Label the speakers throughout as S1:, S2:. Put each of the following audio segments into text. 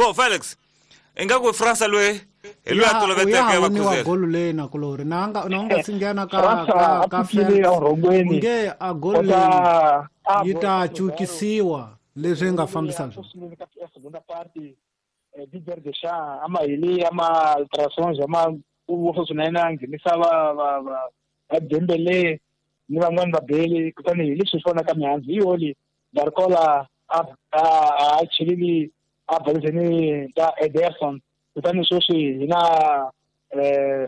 S1: Bo Felix, ingaku Fransa loyi hi loyi a toloveteke
S2: va khuzela golu leyi na kulori na nga na nga si nghena ka ka ka Felix nge a golu leyi yi ta cukisiwa leswi nga fambisa
S3: swona segunda parte Didier Deschamps ama hili ama alterações ama ku swinene a nghenisa va va va va Dembele ni van'wani va beli kutani hi leswi swi vonaka mihandzu hi yoli Barcola a a a chelili a baliseni ta Ederson kutani sweswi hi na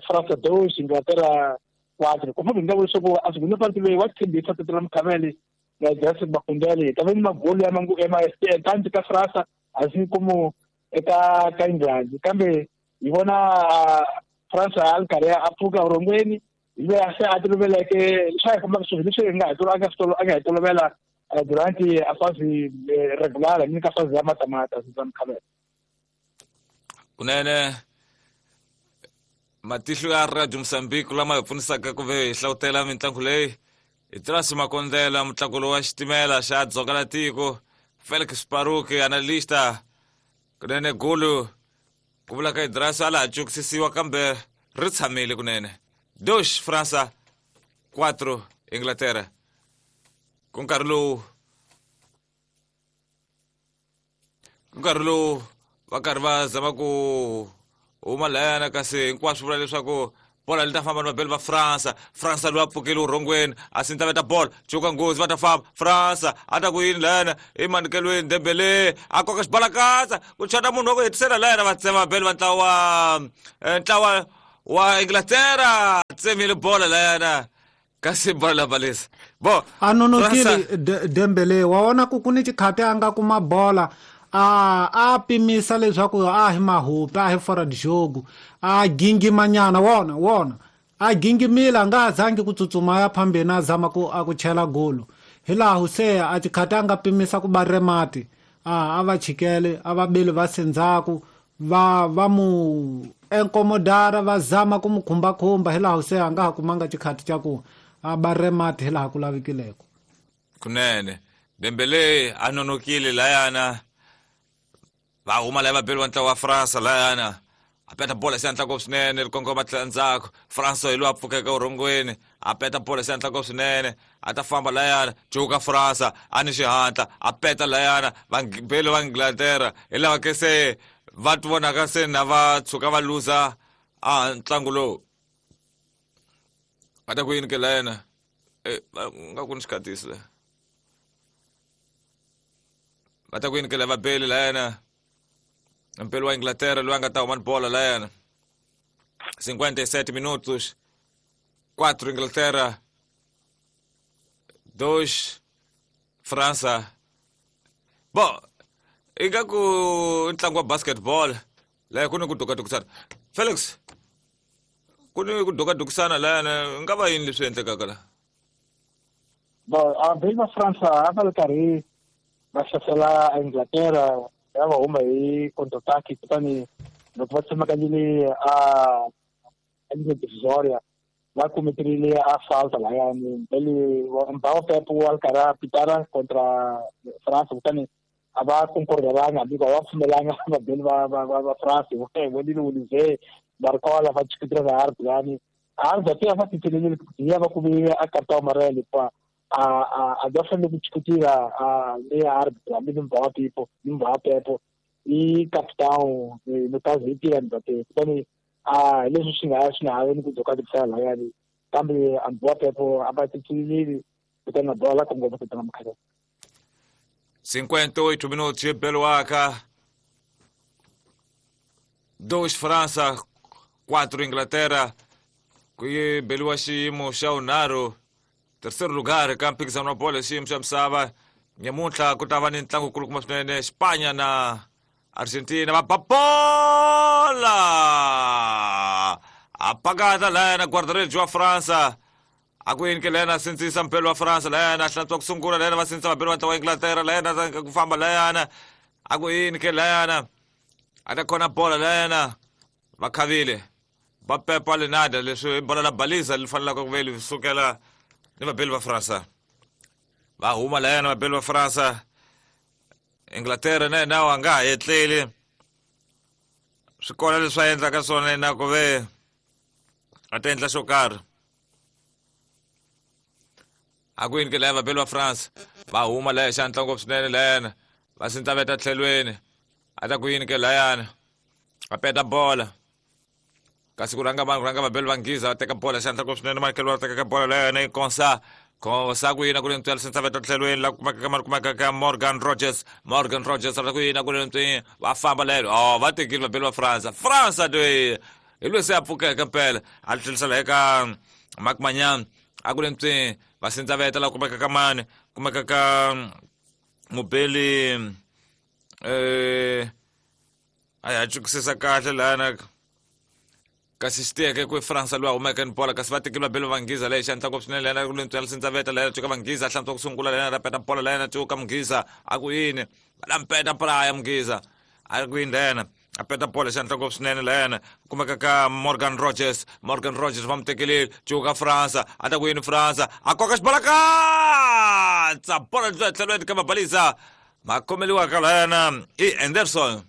S3: France 2 Inglaterra 4 ku famba nga vula leswaku a segunda parte leyi wa tshembisa Tete la Mkhameli na Jason Makundele hi ta va ni magolu ya mangu ya ma tanti ka France asi como eka ka England kambe hi vona France a ri karhi a pfuka vurhongweni hi loyi a se a toloveleke swa hi fambaka swilo leswi hi nga hi a nga swi a nga hi tolovela durante a fase regular ni ka fase ya matamata Suzan Khabela.
S1: Kunene matihlo ya Radio Mozambique lama hi pfunisaka ku ve hi hlawutela mitlangu leyi hi Trasi Makondlela mutlakulo wa xitimela xa dzonga la tiko Felix Paruki analista kunene gulu ku vula ka Idrasi a la ha cukisisiwa kambe ri tshamile kunene 2 Fransa 4 Inglaterra ku nkarhi lowu ku nkarhi lowu va karhi va zama ku huma layana kasi hinkwaswo vula leswaku bola li ta famba ni vabeli va Fransa. Fransa loyi a pfukile urhongweni a sinta veta bola cuka nghozi va ta famba Fransa a ta ku yini layana emanikelweni Dembele a koka xibalakatsa ku chata munhu wa ku hetisela layana va tsema vabeli va ntlawa ntlawa wa Inglaterra tsemile bola layana kasi bola la balisa bo
S2: a nonokile Dembele wa vona ku ku ni xikhati a nga kuma bola a a pimisa leswaku a hi mahupi a hi fora de jogo a gingimanyana wona wona a gingimile a nga ha zangi ku tsutsuma ya phambeni a zama ku a ku chela golo hi laha se a xikhati a nga pimisa ku ba remati a a va chikele a va beli va sendzhaku va va mu enkomodara va zama ku mu khumbakhumba hi laha se a nga ha kumanga xikhati xa ku a ba remati hi laha ku lavekileko.
S1: Kunene Dembele a nonokile layana va huma laya vabeli va ntlawa wa Fransa layana a peta bola xi antla ngopfu swinene ri kongoma tlhela ndzhaku Fransa hi loyi a pfukeke urhongweni a peta bola xi antla ngopfu swinene a ta famba layana cuka Fransa a ni xihatla a peta layana vabeli va Inglaterra hi lava ke se va ti vonaka se na va tshuka va luza a ntlangu lowu va ta ku yini ke layana nga ku ni xikhatisi la va ta ku yini ke la vabeli layana mpeli wa Inglaterra loyi a nga ta huma ni bola layana 57 minutos 4 Inglaterra 2 Fransa bo ingaku ntlangu wa basketball laya ku ni ku dukadukisana Felix ku ni ku dukadukisana layana nga va yini leswi endlekaka la
S3: bo vabeli va Fransa a va ri karhi va hlasela Inglaterra ya va huma hi counter-attack kutani loko va tsemakanyile a ligne divisoria va kumeterile a falta layani mbeli Mbappe Pep wa ri karhi a pitara contra France kutani a va concordelanga hambi va pfumelanga vabeli va va va va France vonile Olivier Barcola va chikutira na Arb lani Arb te va titelele ya va kume a cartão amarelo pa a a a va fanele ku chikutira a le Arb hambi ni Mbappe ni Mbappe i capitão no caso i Kylian Mbappe kutani a leswi swi nga swi nga ha ni ku dzoka tipfala layani kambe Mbappe a va titsilili kutani na bola kongoma ku tlanga mukhaleni
S1: 58 minutos e Beluaca 2 França 4 Inglaterra ku yi beliwa xiyimo xa vunharhu terceiro lugar ka mphikizano wa bolo xiyimo xa misava nyamuntlha ku ta va ni ntlangu kulukumba swinene Spanya na Argentina va ba bola a pakata layana guarda-redes wa Fransa a ku yini ke layana sindzisa mpelo wa Fransa layana hlantswa ku sungula layana va sindzisa vabeli va ntlawa wa Inglaterra layana ku famba layana a ku yini ke layana a ta khona bola layana va khavile va pepa lenada leswi bola la balisa li fanelaka ku ve li sukela ni vabeli va Fransa va huma layana vabeli va Fransa Inglaterra na yena a nga ha etleli. Swi kona leswi a endlaka swona yena ku ve a ta endla xo karhi. A ku yini ke laya vabeli va France va huma laya hi xihatla ngopfu swinene layana va sindzaveta tlhelweni a ta ku yini ke layana a peta bola kasi ku rhanga vanhu ku rhanga vabeli va Nghiza va teka bola xihatla ngopfu swinene Michael va teka bola layana yi konsa konsa ku yina ku ri ntswela sindzaveta tlhelweni la kumeka ka mali kumeka ka Morgan Rogers. Morgan Rogers a ku yina ku ri ntswi va famba lelo. Oh, va tekile vabeli va France. France loyi hi loyi se a pfukeke mpela a tlherisela eka Mark Manyan a ku ri ntswi va sindzaveta la kumeka ka mani kumeka ka mubeli a ya chukisisa kahle lana kasi xi tiyeke ku France loyi a humeke ni bola kasi va tekile vabeli va Nghiza leyi xihatla ngopfu swinene lena ku ri ntswi sindzaveta lena cuka Vanghiza hlantswa ku sungula lena ra peta bola lena cuka Mughiza a ku yini va la mpeta bola ya Mughiza a ku yini lena a peta bola xihatla ngopfu swinene lena kumeka ka Morgan Rogers. Morgan Rogers va mu tekelile cuka France a ta ku yini France a koka xibola katsa bola tlhelweni ka mabalisa ma khomeliwa ka lena i Anderson.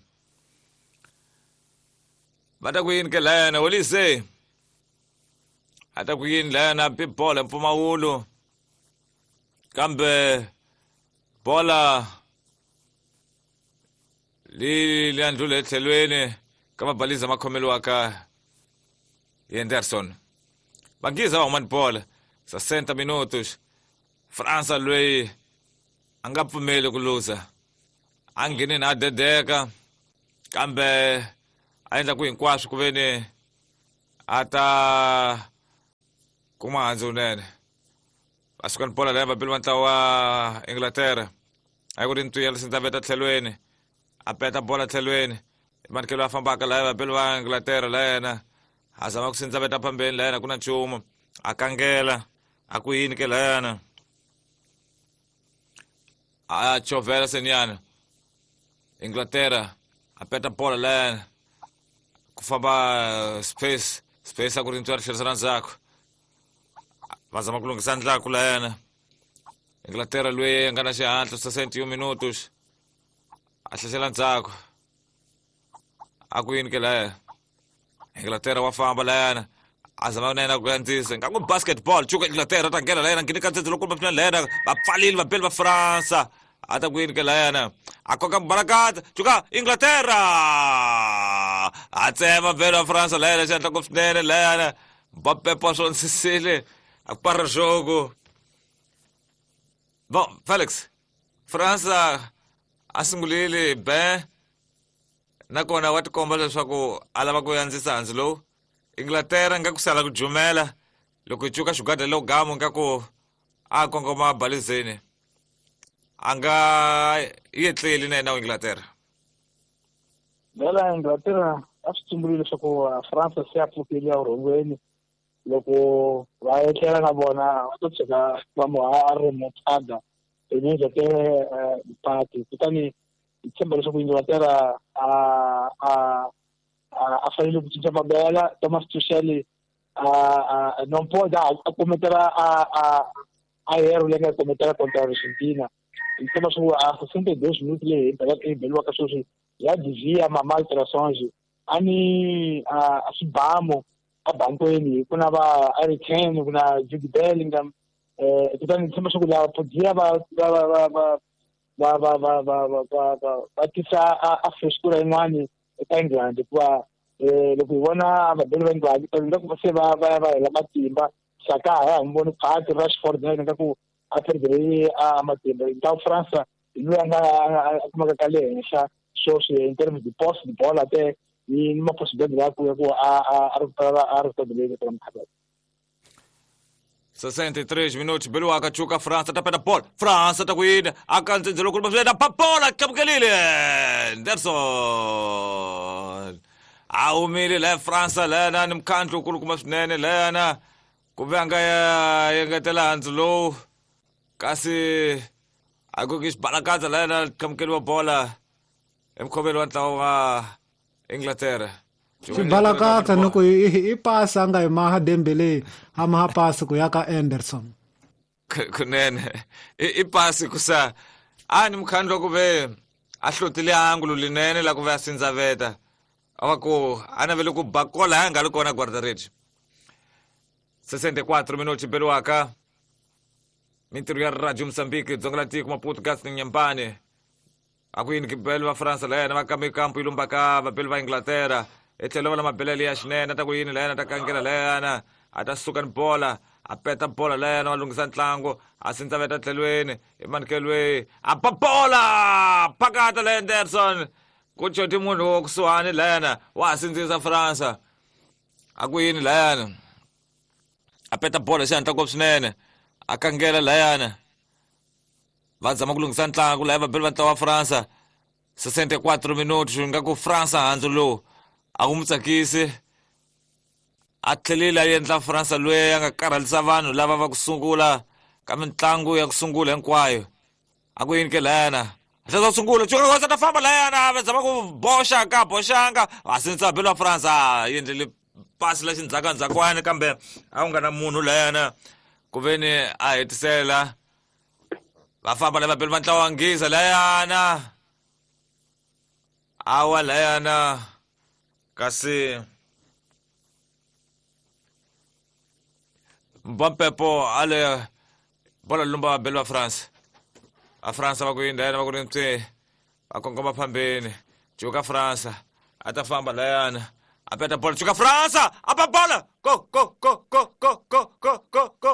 S1: Va ta ku yini ke lena Olise a ta ku yini lena pi bola mpfumawulo kambe bola li li andlule etlhelweni ka mabaliza ma khomeliwaka hi Anderson. Vanghiza va huma ni bola 60 minutos. Fransa loyi a nga pfumeli ku luza a nghenini a dedeka kambe a endla ku hinkwaswo ku veni a ta kuma handzu wunene. Va suka ni bola leyi vabeli va ntlawa wa Inglaterra a ku ri ntwiya sindzaveta tlhelweni a peta bola tlhelweni manikelo a fambaka laya vabeli va Inglaterra la yena a zama ku sindzaveta phambeni la yena ku na nchumu a kangela a ku yini ke layana a chovela senyana Inglaterra a peta bola layana ku famba space space a ku ri ntswari tlherisela ndzhaku va zama ku lunghisa ndlaku layana Inglaterra loyi a nga na xihatla 61 minutos a hlasela ndzhaku a ku yini ke laya Inglaterra wa famba layana a zama na yena ku andzisa nga ku basketball cuka Inglaterra ta nghena layana ngheni ka ndzedze loko va layana va pfalile vabeli va France a ta ku yini ke layana a koka barakata cuka Inglaterra a tsema vabeli va France layana xihatla ngopfu swinene layana Mbappe posonsisile a para jogo. Bon, Felix, Fransa a sungulile ben nakona wa tikomba leswaku a lava ku andzisa handzu lowu. Inglaterra nga ku sala ku jumela loko yi cuka xigwada lowu gamu nga ku a kongoma balizeni a nga yetleli na yena wa Inglaterra.
S3: Vela Inglaterra a swi tsumbulile leswaku France se a pfukile evurhongweni loko va etlela na vona va to tshika va mu a ri mutada immediate party kutani hi tshemba leswaku Inglaterra a fanele ku cinca mabela. Thomas Tuchel a non pode a cometer a erro leyi nga cometela contra Argentina. Hi tshemba swa ku a 62 minutos leyi hi beliwaka sweswi ya devia ma alterações a ni a swibamu a bankweni ku na va Harry Kane ku na Jude Bellingham kutani tshemba swa ku lava podia va va va va va va va va va va va va tisa a freshkura yin'wani eka England hikuva loko hi vona vabeli va England nga ku se va va ya va hela matimba Saka a ya ha n'wi voni Park Rashford na yena nga ku a perdere a matimba ntlawa France hi loyi a nga a kumaka ka le henhla sweswi in terms de posse de bola te ni ma possibility ya ku ya ku a a ri a ri stability eka mukhaza.
S1: 63 minutos beliwaka cuka France ta peta bola France ta ku yini a ka ndzhendzelo kulu maswena pa bola tlamukelile Anderson a humile la France lana ni mkhandlu kulukumba swinene lana ku ve a nga ya engetela handzu lowu kasi a ku ki xibalakatsa lana tlamukeliwa bola emukhoveli wa ntlawa wa Inglaterra.
S2: Xibalakatsa ni ku i pasi a nga yi maha Dembele a maha pasi ku ya ka Anderson.
S1: Kunene i pasi ku sa a ni mukhandlu ku ve a hlotile angulo linene la ku ve a sindzaveta. A va ku a navele ku ba kola ya nga ri kona guarda-redes. 64 minutos beliwaka mintirho ya Radio Mozambique dzonga la tiko Maputo Gas ni Nyambane. A ku yini beli va Fransa la yena va kambe kampu yi lumbaka vabeli va Inglaterra etlhelo va la mabelele ya xinene a ta ku yini la yena a ta kangela la yena a ta suka ni bola a peta bola la yena va lunghisa ntlangu a sindza veta tlhelweni emanukelweni a ba bola phakata la Anderson ku coti munhu wo kusuhani la yena wa ha sindzisa Fransa a ku yini la yena a peta bola xihatla ngopfu swinene a kangela layana va zama ku lunghisa ntlangu laya vabeli va ntlawa wa Fransa 64 minutos nga ku Fransa handzu lowu a wu mu tsakisi a tlhelile a endla Fransa loyi a nga karhalisa vanhu lava va ku sungula ka mitlangu ya ku sungula hinkwayo a ku yini ke layana hleza sungula cuka kosa ta famba layana va zama ku boxa ka boxanga a sindzisa vabeli va Fransa a endlele pasi la xindzhakandzhakwani kambe a ku nga na munhu layana ku ve ni a hetisela va famba lava beli va ntlawa wa nghiza layana awa layana kasi mbampepo ale bola lumba vabeli va France a France va ku yini layana va ku ri mpye va kongoma phambeni cuka Fransa a ta famba layana a peta bola cuka Fransa a ba bola go go go go go go go go go.